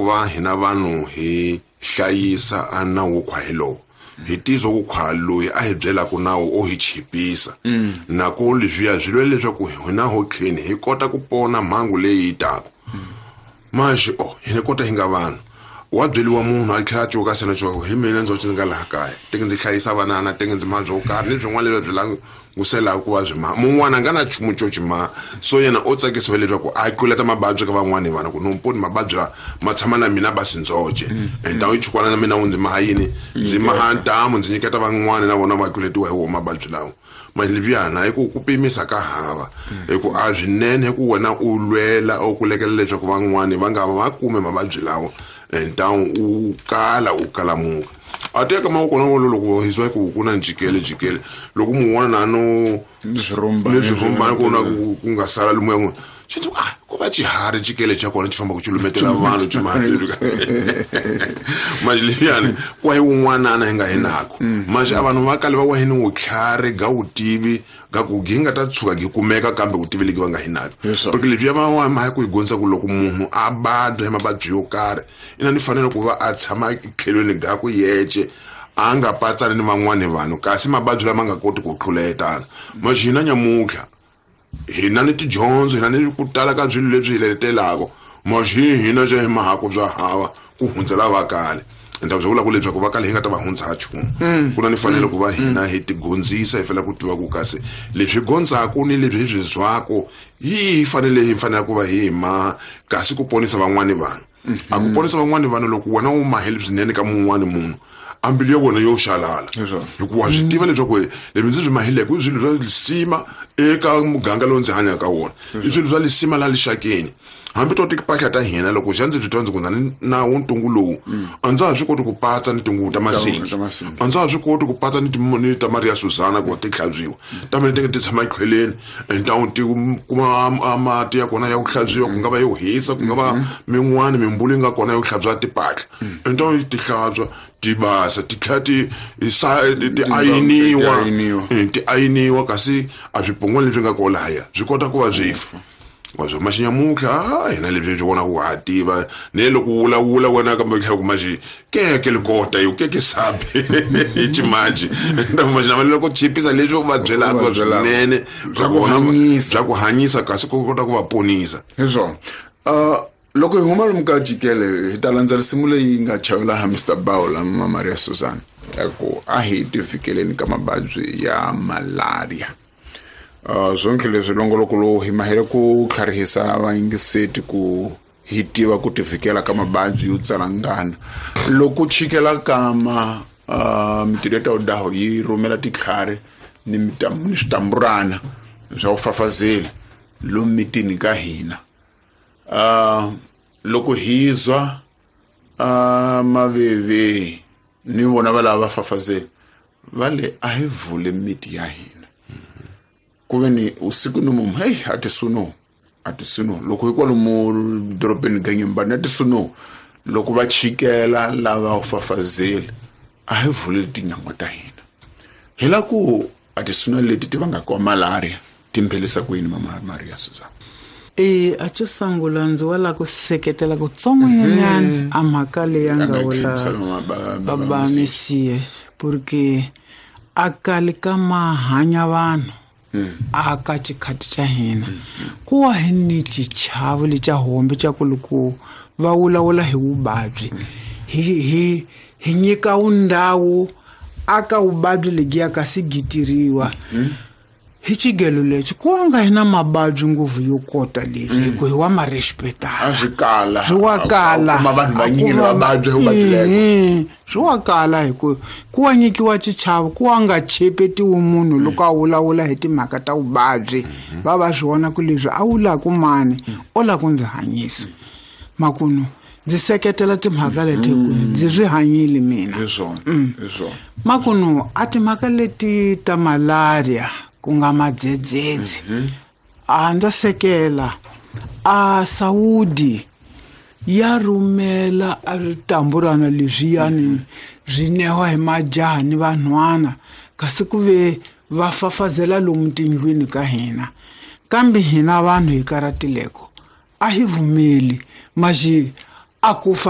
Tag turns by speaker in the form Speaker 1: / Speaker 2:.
Speaker 1: ku va hina vanhu hi hlayisa a nawu wo khwa hi lowu hi tizwa ku khwa loyi a hi byelaka nawu o hi chipisa nako leswiya swi lwela leswaku hina ho tlheni hi kota ku pona mhangu leyi yi taka maxi o hi ni kota hi nga vanhu wa byeliwa munhu a tlhela a cuka sena cuka hi mina ndzi ndzi nga laha kaya teke ndzi hlayisa vanana teke ndzi maha byo karhi ni swin'wana leswi byi languselaka ku va byi maha mun'wana a nga na nchumu xo xi maha so yena o tsakisiwa leswaku a tluleta mavabyi ka van'wani vana ku nomponi mavabyi lawa ma tshama na mina basi ndzoce entawu yi chukwana na mina wu ndzi maha yini ndzi maha ntamu ndzi nyiketa van'wani na vona va tluletiwa hi wona mavabyi lawa malibyana hi ku ku pimisa ka hava hi ku a swinene hi ku wena u lwela u kulekela leswaku van'wani va nga va kume mavabyi lawa ntawu u kala u kalamuka a teka ma kona wolo loko hi zwa ku ku na njikele jikele loko mun'wana na no
Speaker 2: ni swirhumbani
Speaker 1: ku na ku nga sala lomu ya n'wina xi ndzi ah ko va xiharhi xikele xa kona xi fambaka xi lumetela vanhu xi manje leyani ku hi wun'wanana hi nga hi nako manje a vanhu va kale va wa hi ni vutlhari ga vutivi ga ku gi nga ta tshuka gi kumeka kambe vutivi legi va nga hi nako porque lebyi ya va wa mhaka ku hi gondza ku loko munhu a badya hi mavabyi yo karhi ina ni fanele ku va a tshama tlhelweni ga ku yece a nga patsani ni van'wani vanhu kasi mavabyi lama nga koti ku tluletana manje hina nyamuntlha hina ni tidyondzo hina ni ku tala ka swilo leswi hi letelaka maxi hina xa hi mahaku bya hava ku hundzela va kale ende byi vula ku leswaku va kale hi nga ta va hundza nchumu ku na ni fanele ku va hina hi tigondzisa hi fanele ku tiva ku kasi leswi gondzaku ni leswi hi swi zwaku hi fanele hi fanele ku va hi ma kasi ku ponisa van'wani vanhu a ku ponisa van'wani vanhu loko wena u mahele swinene ka mun'wani munhu a mbilu ya wena yo xalala hikuva swi tiva leswaku leswi ndzi swi mahileke i swilo swa lisima eka muganga lowu ndzi hanyaka ka wona i swilo swa lisima laha lixakeni hambi to tipahla ta hina loko xa ndzi swi twa ndzi ku na nawu ntungu lowu a ndza ha swi koti ku patsa ni tinguvu ta masingi a ndza ha swi koti ku patsa ni ni ta Maria Susana ku va ti hlantswiwa ta mina ti nga ti tshama ekhweleni ntawu ti kuma mati ya kona ya ku hlantswiwa ku nga va yo hisa ku nga va min'wani mimbulu yi nga kona yo hlantswa tipahla ntawu ti hlantswa ti basa ti tlhela ti ti ayiniwa ti ayiniwa kasi a swipongwana leswi nga kona lahaya swi kota ku va swi fa wa swo maxinyamutlha a hina leswi swi vonaka ku ha tiva ne loko u vulavula wena kambe tlhela ku maxi keke likota yo keke sabi hi ximanji maxinama loko chipisa leswi u va byelaka swinene bya ku hanyisa kasi ku kota ku va ponisa
Speaker 2: hi swona loko hi huma lomu ka jikele hi ta landza risimu leyi nga chayela ha Mr Bawula Mama Maria Susan ya ku a hi tifikeleni ka mavabyi ya malaria swonke leswi longoloko lowu hi mahele ku tlharihisa vayingiseti ku hi tiva ku tivikela ka mavabyi yo tsalangana loko chikela kama mitirho ya tawudaho yi rhumela titlhari ni ni switamburana swa ku fafazela lomu mitini ka hina loko hi zwa maveve ni vona va lava va fafazela va le a hi vule miti ya hina ku ve ni usiku ni mumu heyi a ti suno a ti suno loko hi kwalomu dorobeni ganyembani a ti suno loko va chikela lava u fafazeli a hi vuleli tinyangwa ta hina hi la ku a ti suna leti ti vangaka wa malaria ti mphelisa ku yini Mama Maria Susan
Speaker 3: e a xo sungula ndzi wa lava ku seketela kutsongonyanyana a mhaka leyi a nga vula baba Mesiya porque a kali ka mahanya vanhu a ka xikhati xa hina ku wa hi ni xichavo lexa hombe xa ku loko va vulavula hi vuvabyi hi hi nyika wundhawu aka vuvabyi lebyiya kasi gitiriwa hi xigelo lexi ku nga hi na mavabyi ngopfu yo kota leswi hi ku hi wa ma respectana
Speaker 2: a swi kala
Speaker 3: swi wa kala
Speaker 2: kuma vanhu vanyingi lava vabya hi vuvabyi lebo
Speaker 3: swi wa kala hi ku ku wa nyikiwa xichavo ku wa nga chepetiwi munhu loko a vulavula hi timhaka ta vuvabyi va va swi vona ku leswi a wulaku mani o lava ku ndzi hanyisa makunu ndzi seketela timhaka leti hi ku ndzi swi hanyile mina
Speaker 2: hi swona hi swona
Speaker 3: makunu a timhaka leti ta malaria ku nga madzedzedze a ndza sekela a Saudi ya rhumela a switamburana leswiyani swi newa hi majaha ni vanhwana kasi ku ve va fafazela lomu tindlwini ka hina kambe hina vanhu hi karatileko a hi vumeli maxi a ku fa